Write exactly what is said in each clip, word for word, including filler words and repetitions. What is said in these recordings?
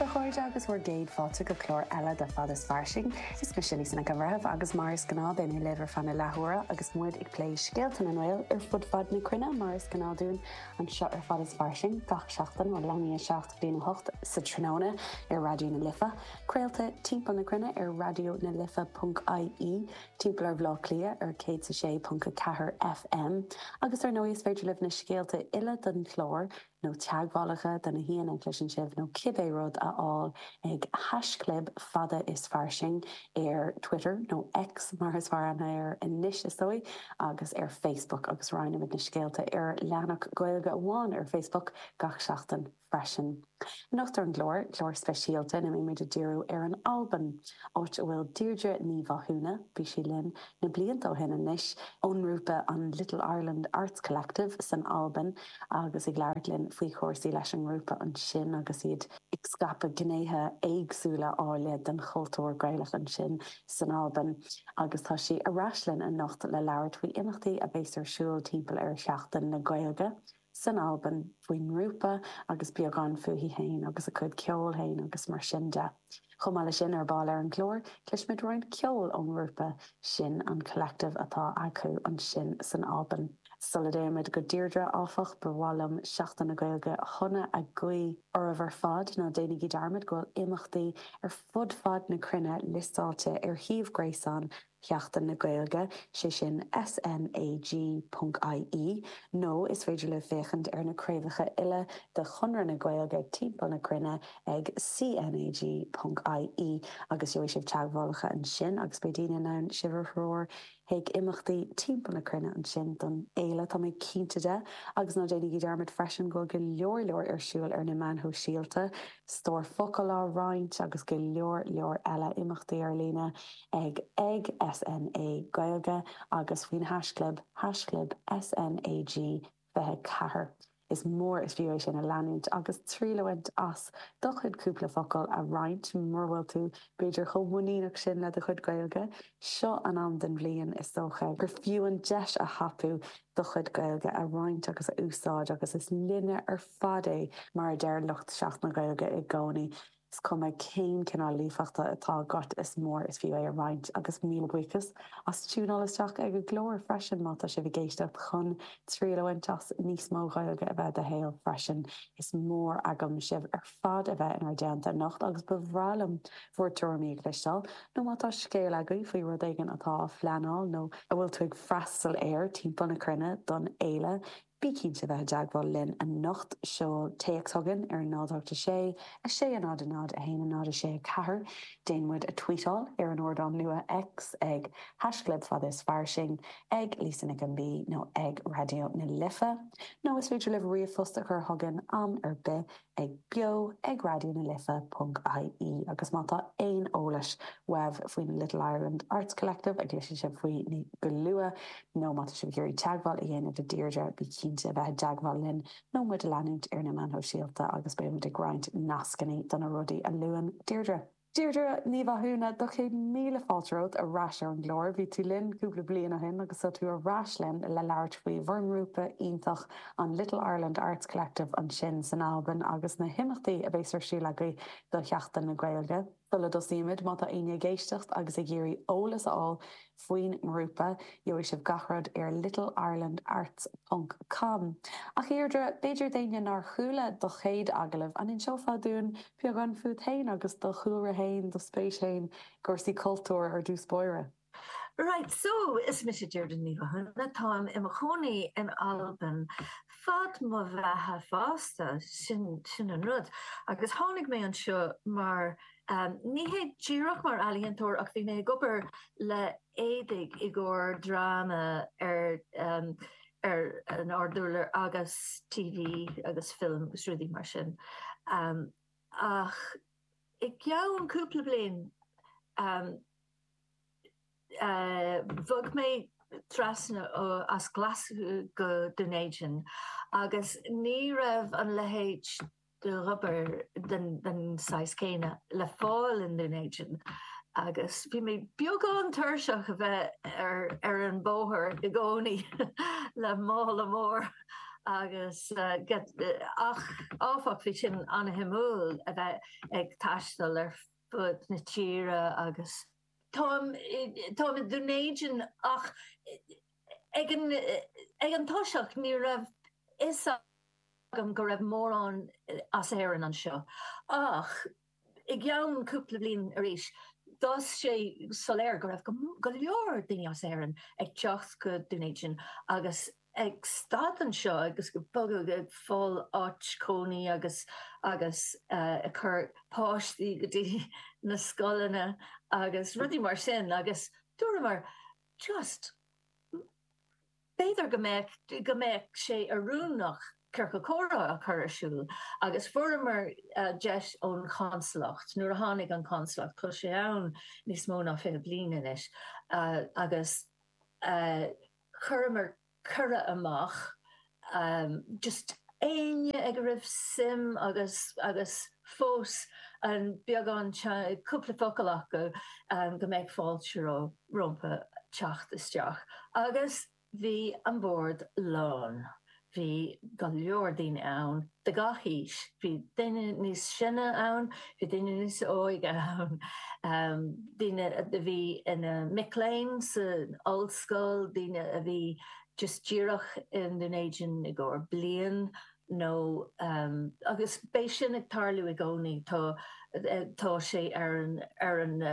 A chairde agus bhur gcéad fáilte go clár eile de Fad is Fairsing. Is mise Lisa Nic an Bhreithimh agus mar is gnáth beidh mé libh ar feadh na leathuaire agus muid ag plé scéalta na nGael ar fud fad na cruinne mar is gnáth dúinn anseo ar Fad is Fairsing gach seachtain ó leathuair tar éis a seacht go dtí a hocht sa tráthnóna ar Raidió na Life. Craolta timpeall na cruinne ar raidió na life.ie timpeall ar Bhaile Átha Cliath ar céad sé ponc a ceathair FM agus ar ndóigh is féidir libh na scéalta uile den chlár nó teagmhálacha do na haíonna a chloiseann sibh nó cibé rud a fháil ag haischlib fada is fairsing ar Twitter nó X mar is fearr air anois is dóigh agus ar Facebook agus roinnimid na scéalta ar leathanach Gaeilge amháin ar Facebook gach seachtain freisin. Anocht ar an gclár clár speisialta ina mbeimid ag díriú ar an Albain, áit a bhfuil Deirdre Ní Mhathúna bhí sí linn na blianta ó shin anois ón ngrúpa an Little Ireland Arts Collective san Albain agus ag labhairt linn faoi chúrsaí leis an ngrúpa ansin agus iad ag scaipeadh gnéithe éagsúla áille den chultúr Gaelach ansin san Albain agus tá sí ar ais linn anocht le labhairt faoi imeachtaí a bheas ar siúl timpeall ar Sheachtain na Gaeilge. san Albain faoin ngrúpa agus beagán fúithi féin agus a cuid ceoil féin agus mar sin de. Chomh maith leis sin ar ball ar an gclár, cloisfimid roinnt ceoil ón ngrúpa sin an collective atá acu ansin san Albain. Sula dtéimid go Deirdre áfach ba mhaith liom Seachtain na Gaeilge shona a ghuí oraibh ar fad ná déanaigí dearmad go bhfuil imeachtaí ar fud fad na cruinne liostáilte ar shuíomh gréasáin Sheachtain na Gaeilge sé sin SNAG.ie nó is féidir libh féachaint ar na craobhacha uile de Chonradh na Gaeilge timpeall na cruinne ag CNAG.ie agus gheobhaidh sibh teagmhálacha ansin agus beidh daoine in ann sibh a threorú chuig imeachtaí timpeall na cruinne ansin don fhéile tá mé cinnte de agus ná déanaigí dearmad freisin go go leor leor ar siúl ar na meáin shóisialta, stór focal á roinnt agus go leor leor eile imeachtaí ar líne ag ag SNA Gaeilge agus faoin haischlib haischlib SNAG fiche ceathair. Is mór is fiú é sin a leanúint agus triail a bhaint as do chuid cúpla focal a roinnt mura bhfuil tú b'fhéidir chomh muiníneach sin le do chuid Gaeilge, seo an am den bhliain is dócha gur fiú an deis a thapú do chuid Gaeilge a roinnt agus a úsáid agus is linne ar fad é mar a deir lucht Seachtain na Gaeilge i gcónaí. Is cuma cén cineál líofachta atá agat is mór is fiú é a roinnt agus míle buíochas as tiúnáil isteach ag an gclár freisin má tá sibh ag éisteacht chun triail a bhaint as níos mó Gaeilge a bheith i do shaol freisin. Is mór agam sibh ar fad a bheith inár dteannta anocht agus ba bhreá liom bhur dtuairimí a chloisteáil nó má tá scéal agaibh faoi rud éigin atá á phleanáil nó a bhfuil tú ag freastal air timpeall na cruinne don fhéile Bí cinnte bheith i dteagmháil linn anocht seol téacs chugainn ar náid a sé a sé a náid a náid a haon a náid a sé a ceathair Déan muid a tweetáil ar an ardán nua X ag haischlib fad is fairsing ag Lisa Nic an B nó ag Raidió na Life. Nó is féidir libh ríomhphost a chur chugainn am ar bith ag beo ag raidió na life.ie agus má tá aon eolas uaibh faoin Little Ireland Arts Collective a gcloisfidh sibh faoi go luath nó má tá sibh ag iarraidh teagmháil a dhéanamh le Deirdre bí cinnte a bheith i dteagmháil linn nó muid a leanúint ar na meáin shóisialta agus beimid ag roinnt nascanna do na rudaí a luann Deirdre. Deirdre Ní Mhathúna do chéad míle fáilte romhat ar ais ar an gclár, bhí tú linn cúpla bliain ó shin agus tá tú ar ais linn le labhairt faoi bhur ngrúpa iontach an Little Ireland Arts Collective ansin san Albain agus na himeachtaí a bheas ar siúl agaibh do Sheachtain na Gaeilge. Sula dtosaímid má tá éinne ag éisteacht agus ag iarraidh eolas a fháil faoin ngrúpa, gheobhaidh sibh gach rud ar littleirelandarts.com. Ach Deirdre, b'fhéidir d'éinne nár chuala do chéad agallamh an inseofá dúinn beagán fút féin agus do chúlra féin do spéis féin i gcúrsaí cultúir ar dtús báire. Right, so is mise Deirdre Ní Mhathúna táim i mo chónaí in Albain fad mo bheatha fosta sin sin an rud. Agus tháinig mé anseo mar um, ní hé díreach mar ealaíontóir ach bhí mé ag obair le éadaí i gcomhair dráma ar um, ar an ardúlar agus TV agus film agus rudaí mar sin. Um, ach i gceann cúpla bliain um, uh, bhog mé trasna uh, as Glaschú go Dún Éideann agus ní raibh an leithéid d'obair den, den saghas céanna le fáil in Dún Éideann. agus bhí mé beagán tuirseach a bheith ar, ar an bóthar i gcónaí le mála mór agus uh, get, ach áfach bhí sin an-shuimiúil a bheith ag taisteal ar fud na tíre agus Táim táim i Dún Éideann ach ag an ag an tosach ní raibh fhios agam go raibh mórán as Éirinn anseo. Ach i gceann cúpla bliain arís, d'fhás sé soiléir go raibh go leor daoine as Éirinn ag teacht go Dún Éideann agus ag stad anseo agus ag bogadh ag fáil áit cónaí agus agus ag cur páistí go dtí na scoileanna agus rudaí mar sin agus dúramar just b'fhéidir go mbeadh go mbeadh sé oiriúnach ciorcal comhrá a chur ar siúl agus fuaireamar deis ón chonsalacht nuair a tháinig an chonsalacht tá sé ann níos mó ná fiche bliain anois agus chuireamar cuireadh amach just éinne ag a raibh suim agus agus fós an beagán cúpla focal acu go mbeadh fáilte rompu teacht isteach agus bhí an bord lán. Bhí go leor daoine ann de gach aois, bhí daoine níos sine ann, bhí daoine níos óige ann, daoine a bhí ina mic léinn san ollscoil, daoine a bhí just díreach i nDún Éideann i gcomhair bliain nó agus beidh sin ag tarlú i gcónaí, tá tá sé ar an ar an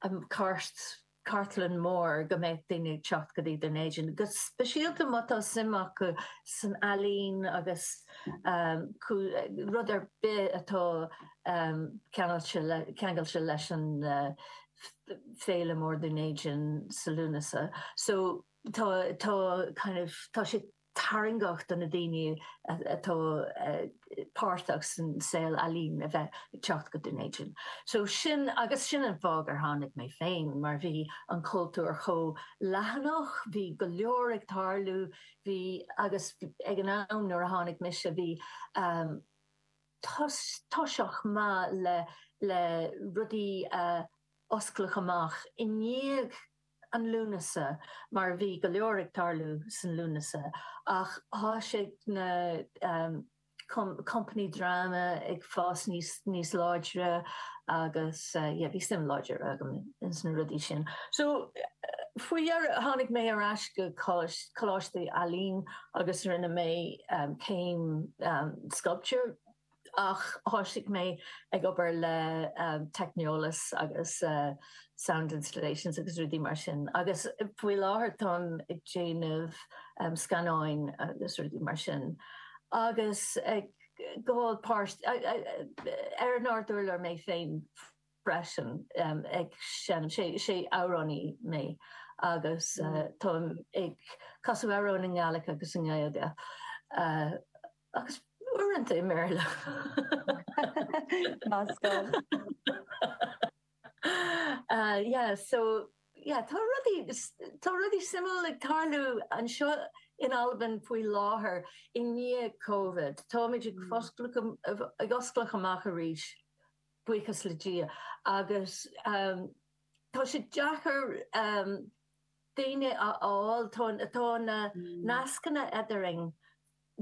an cairt cartlann mór go mbeidh daoine ag teacht go dtí Dún Éideann, go speisialta má tá suim acu san ealaín agus rud ar bith atá ceangailte leis an Féile Mór Dún Éideann sa Lúnasa. So tá tá kind of tá sé tarraingeach do na daoine atá páirteach san saol ealaíon a bheith ag teacht go Dún Éideann. So sin agus sin an fáth gur tháinig mé féin mar bhí an cultúr chomh leathanach, bhí go leor ag tarlú, bhí agus ag an am nuair a tháinig mise bhí um, toiseach maith le le rudaí a oscladh amach i ndiaidh an Lúnasa mar bhí go leor ag tarlú san Lúnasa ach thosaigh na um, company drama ag fás níos níos láidre agus uh, yeah, bhí suim láidir agam ins na rudaí sin. So faoi dheireadh tháinig mé ar ais go Coláiste Ealaíon agus rinne mé um, céim um, sculpture ach thosaigh mé ag obair le um, teicneolas agus uh, sound installations agus rudaí mar sin. Agus faoi láthair táim ag déanamh um, scannáin agus rudaí mar sin. Agus ag gabháil páirt ar an ardurlár mé féin freisin um, ag seinm sé sé amhránaí mé agus uh, táim ag casadh amhrán i nGaeilge agus i nGaeilge. Uh, agus uaireanta i mBéarla. Meascán. Uh, yeah, so yeah, tá rudaí tá rudaí suimiúil ag tarlú anseo in Albain faoi láthair i ndiaidh COVID. Táimid ag mm. ag oscailt amach arís buíochas le Dia agus um, tá sé deacair um, daoine a fháil tá na mm. nascanna eadrainn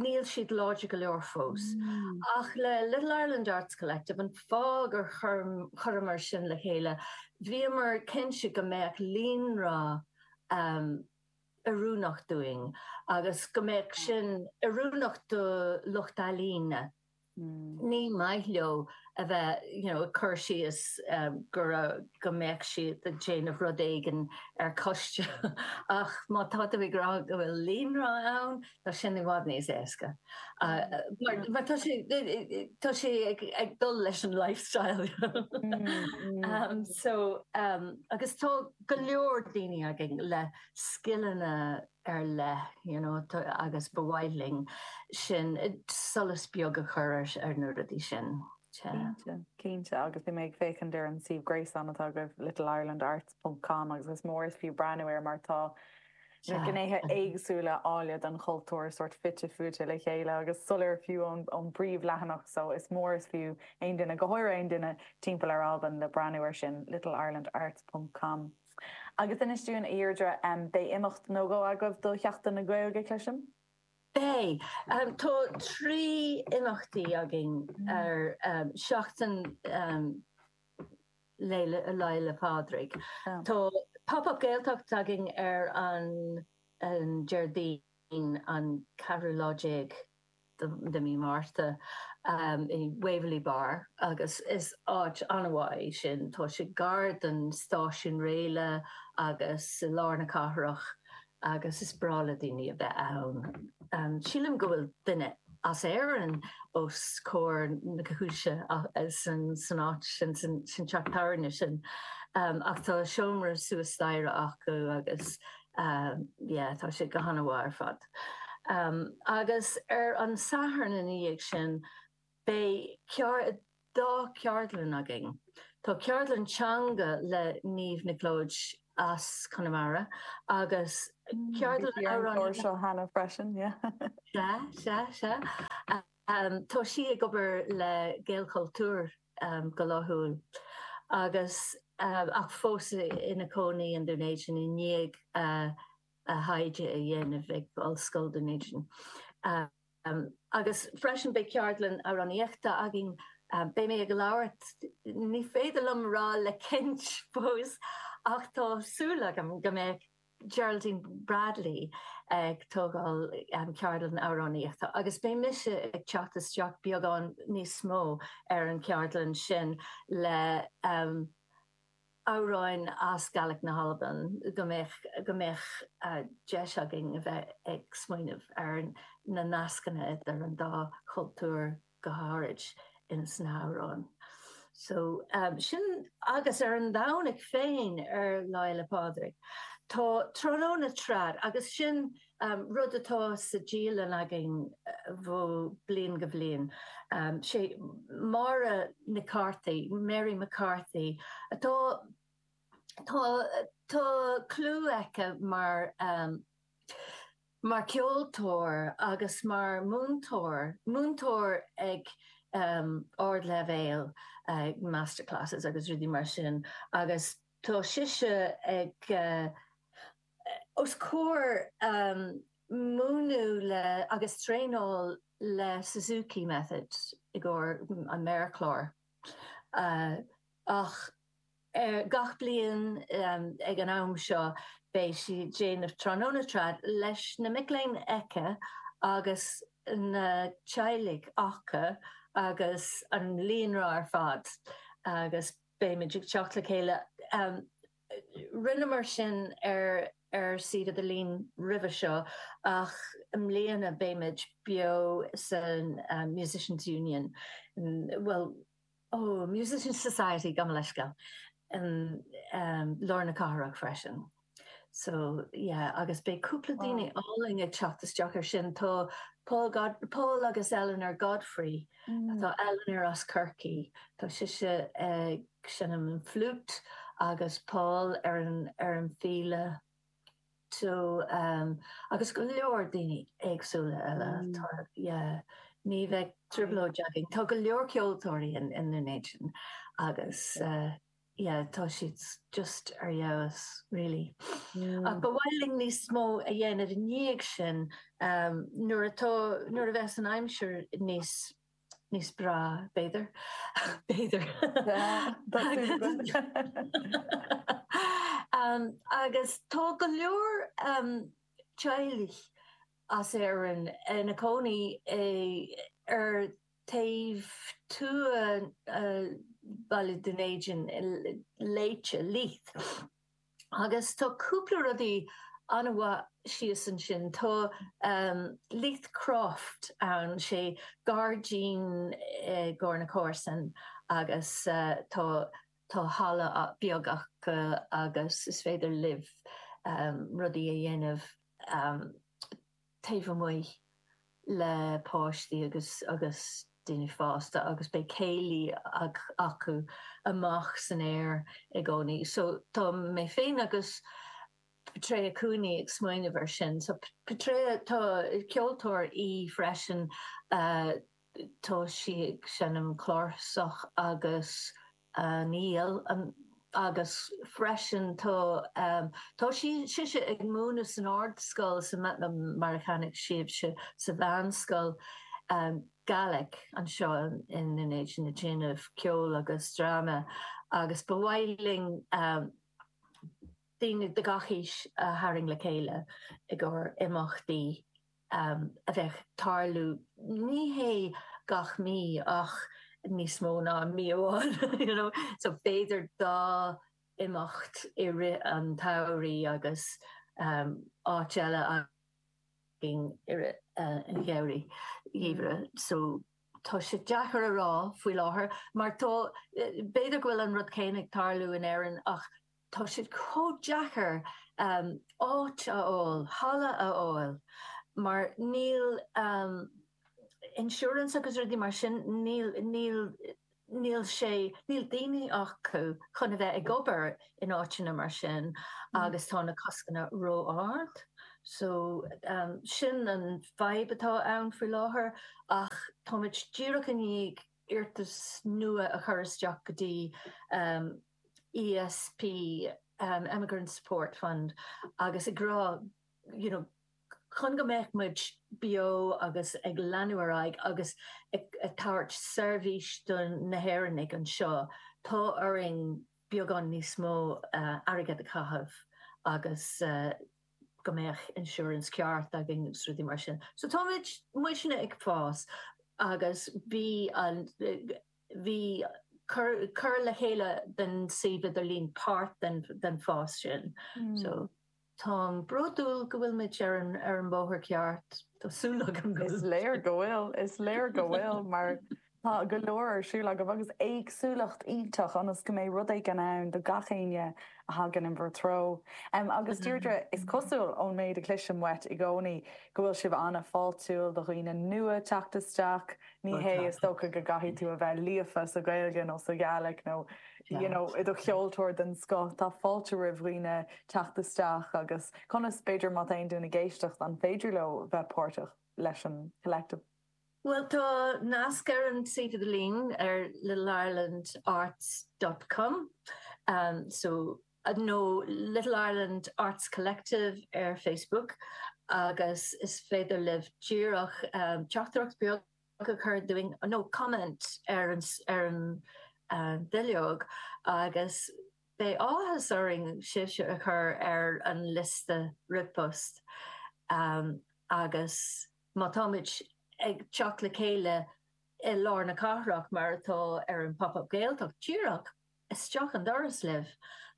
níl siad láidir go leor fós. Mm. Ach le Little Ireland Arts Collective an fáth gur chuireamar sin le chéile, bhíomar cinnte go mbeadh líonra um, oiriúnach dúinn agus go mbeadh sin oiriúnach do lucht ealaíne. Mm. Ní maith leo a bheith you know, cur síos um, go go mbeadh siad ag déanamh rud éigin ar coiste ach má tá tú ag rá go bhfuil líonra ann tá sin i bhfad níos éasca. Uh, mar, mar tá sé tá sé ag, ag dul leis an lifestyle. mm, mm. um, so um, agus tá go leor daoine againn le scileanna ar leith you know, agus ba mhaith linn sin solas beag a chur ar na rudaí sin. Cinnte agus bhí mé ag féachaint ar an suíomh gréasáin atá agaibh littleirelandarts.com agus is mór is fiú breathnú air mar tá na gnéithe éagsúla áille den chultúr sort fite fuaite le chéile agus soiléir fiú ón ón bpríomhleathanach so is mór is fiú aon duine go háirithe aon duine timpeall ar Albain le breathnú ar sin littleirelandarts.com. Agus inis dúinn a Dheirdre um, beidh imeacht nó dhó agaibh do Sheachtain na Gaeilge cloisim? Beidh. Tá trí imeachtaí againn ar seachtain Lá 'le Pádraig. Tá Pop-Up Gaeltacht againn ar an Déardaoin an ceathrú lá déag de mí Márta i Waverley Bar agus is áit an-mhaith í sin. Tá sé gar don stáisiún raile agus i lár na cathrach agus is breá le daoine a bheith ann. Sílim go bhfuil duine as Éirinn os comhair na cúise san áit sin, san teach tábhairne sin. Ach tá seomra suas staighre acu agus yeah tá sé go han-mhaith ar fad. Agus ar an Satharn ina dhiaidh sin beidh dá cheardlann againn. Tá ceardlann teanga le Niamh Nic Lóid as Conamara agus ceardlann amhránaíochta. seo cheana freisin, yeah. Sea, sea, sea. Tá sí ag obair le Gaelchultúr go laethúil agus ach fós ina cónaí in Dún Éideann i ndiaidh a thaighde a dhéanamh ag Ollscoil Dún Éideann. Agus freisin beidh ceardlann amhránaíochta againn. Beidh mé ag labhairt, ní féidir liom rá le cinnt fós, ach tá súil agam go mbeidh Geraldine Bradley ag tógáil ceardlann amhránaíochta agus beidh mise ag teacht isteach beagán níos mó ar an cheardlann sin le amhráin as Gaelic na hAlban, go mbeadh go mbeadh deis againn a bheith ag smaoineamh ar na nascanna idir an dá chultúr go háirid ins na hamhráin. So sin agus ar an Domhnach féin ar Lá Fhéile Pádraig tá tráthnóna trad agus sin rud atá sa dialann againn ó bliain go bhliain. Sé Máire Nic Cárthaigh, Mary McCarthy, atá tá tá clú aici mar mar ceoltóir agus mar múinteoir, múinteoir ag ardleibhéal, masterclasses agus rudaí mar sin agus tá sise ag os comhair múineadh le agus traenáil le Suzuki Method i gcomhair an méarchlár ach gach bliain ag an am seo beidh sí ag déanamh tráthnóna trad leis na mic léinn aici agus na teaghlaigh acu agus an líonra ar fad agus beimid ag teacht le chéile. Rinneamar sin ar ar suíomh idirlín roimhe seo ach i mbliana beimid beo san Musicians Union, bhuel, oh, Musicians Society, gabh mo leithscéal, i lár na cathrach freisin. So, yeah, agus beidh cúpla daoine álainn ag teacht isteach ar sin. Tá Paul God, Paul agus Eleanor Godfrey, tá Eleanor as Corcaigh, tá sise ag seinm an fliúit agus Paul ar an ar an bhfíle. So, um, agus go leor daoine éagsúla eile, tá, yeah, ní bheidh trioblóid againn. Tá go leor ceoltóirí in in Dún Éideann agus uh, yeah, tá siad just ar fheabhas, really. Ach ba mhaith linn níos mó a dhéanamh i ndiaidh sin um, nuair atá nuair a bheas an aimsir níos níos breá, b'fhéidir. B'fhéidir. um, agus tá go leor um, teaghlaigh as Éirinn ina cónaí ar taobh thuaidh Bhaile Dún Éideann, Léite, Leith. Agus tá cúpla rudaí an-mhaith síos ansin. Tá Leith Croft ann, sé gairdín i gcomhair na comharsan agus tá tá halla beag acu agus is féidir libh rudaí a dhéanamh taobh amuigh le páistí agus agus daoine fásta agus beidh céilí acu amach san aer i gcónaí. So tá mé féin agus Petrea Cooney ag smaoineamh ar sin. So Petrea tá ceoltóir í freisin tá sí ag seinm cláirseach agus an fhídhil, an Agus freisin tá um, tá sí sise ag múineadh san ardscoil sa mar a chonaic sibhse sa mheánscoil um, Gaelic anseo in in na déanamh ceol agus dráma agus ba mhaith linn um, daoine de gach aois a tharraingt le chéile i gcomhair imeachtaí um, a bheith tarlú ní hé gach mí ach níos mó ná mí amháin you know so b'fhéidir dá imeacht i rith an tsamhraidh agus um, áit eile againn i rith uh, an gheimhridh gheimhridh so tá sé deacair a rá faoi láthair mar tá b'fhéidir go bhfuil an rud céanna ag tarlú in Éirinn ach tá sé chomh deacair um, áit a fháil, halla a fháil mar níl um, insurance agus rudaí mar sin níl níl níl sé níl daoine acu chun a bheith ag obair in áiteanna mar sin mm. agus tá na coscanna ró-ard. So um, sin an fadhb atá ann faoi láthair ach táimid díreach i ndiaidh iarratas nua a chur isteach go dtí um, ESP um, Emigrant Support Fund agus ag rá you know, chun go mbeidh muid beo agus ag leanúint ar aghaidh agus ag, ag tabhairt seirbhís do na hÉireannaigh anseo tá orainn beagán níos mó uh, airgead a chaitheamh agus uh, go mbeadh insurance ceart againn agus rudaí mar sin. So táimid muidne ag fás agus bhí an bhí cur, cur le chéile den suíomh idirlín páirt den, den fás sin. Mm. So Táim bródúil go bhfuil muid ar an ar an bóthar ceart Tá súil agam Is léir go bhfuil is léir go bhfuil mar tá go leor ar siúl agaibh agus éagsúlacht iontach ionas go mbeidh rud éigin ann do gach éinne a thagann in bhur dtreo. Um, agus Deirdre is cosúil ón méid a chloisim uait i gcónaí go bhfuil sibh an-fháiltiúil do dhaoine nua teacht isteach, ní hé is dócha go gcaithfidh tú a bheith líofa sa Ghaeilge nó sa Ghàidhlig nó you know, i do cheoltóir den scoth tá fáilte roimh dhaoine teacht isteach agus conas b'fhéidir má tá aon duine ag éisteacht an féidir leo bheith páirteach leis an collective. Well tá nasc ar an suíomh idirlín ar littleirelandarts.com um, so uh, nó Little Ireland Arts Collective ar Facebook agus is féidir libh díreach um, teachtaireacht beag a chur dúinn nó comment ar an, ar an uh, duilleog agus beidh áthas orainn sibhse a chur ar an liosta ríomhphost um, agus má táimid ag teacht le chéile i lár na cathrach mar atá ar an pop-up Gaeltacht díreach isteach an doras libh,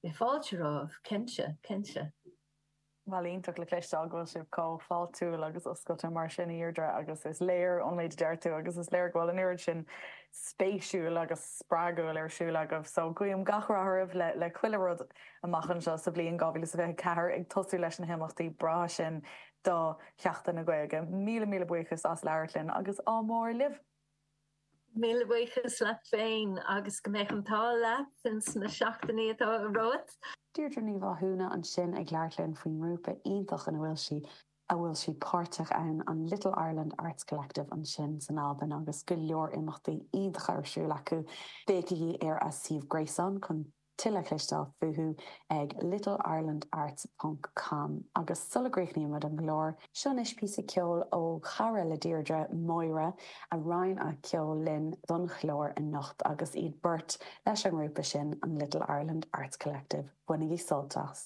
beidh fáilte romhaibh cinnte cinnte. Well iontach le cloisteáil go bhfuil sibh chomh fáiltiúil agus oscailte mar sin Deirdre agus is léir ón méid a deir tú agus is léir go bhfuil an oiread sin spéisiúil agus spreagúil ar siúl agaibh, so guím gach rath oraibh le le chuile rud amach anseo sa bhliain dhá mhíle is fiche ceathair ag tosú leis na himeachtaí breá sin do Sheachtain na Gaeilge. Míle míle buíochas as labhairt linn agus ádh mór libh. Míle buíochas leat féin agus go mbeidh an t-ádh leat ins na seachtainí atá romhat. Deirdre Ní Mhathúna ansin ag labhairt linn faoin ngrúpa iontach ina bhfuil sí a bhfuil sí páirteach ann an Little Ireland Arts Collective ansin san Albain agus go leor imeachtaí iontacha ar siúl acu. Féachaigí ar a suíomh gréasáin chun tuilleadh a chloisteáil fúthu ag littleirelandarts.com agus sula gcríochnaímid an clár, seo anois píosa ceoil ó chara le Deirdre Máire a roinn a ceol linn don chlár anocht agus iad beirt leis an ngrúpa sin an Little Ireland Arts Collective. Bainigí sult as.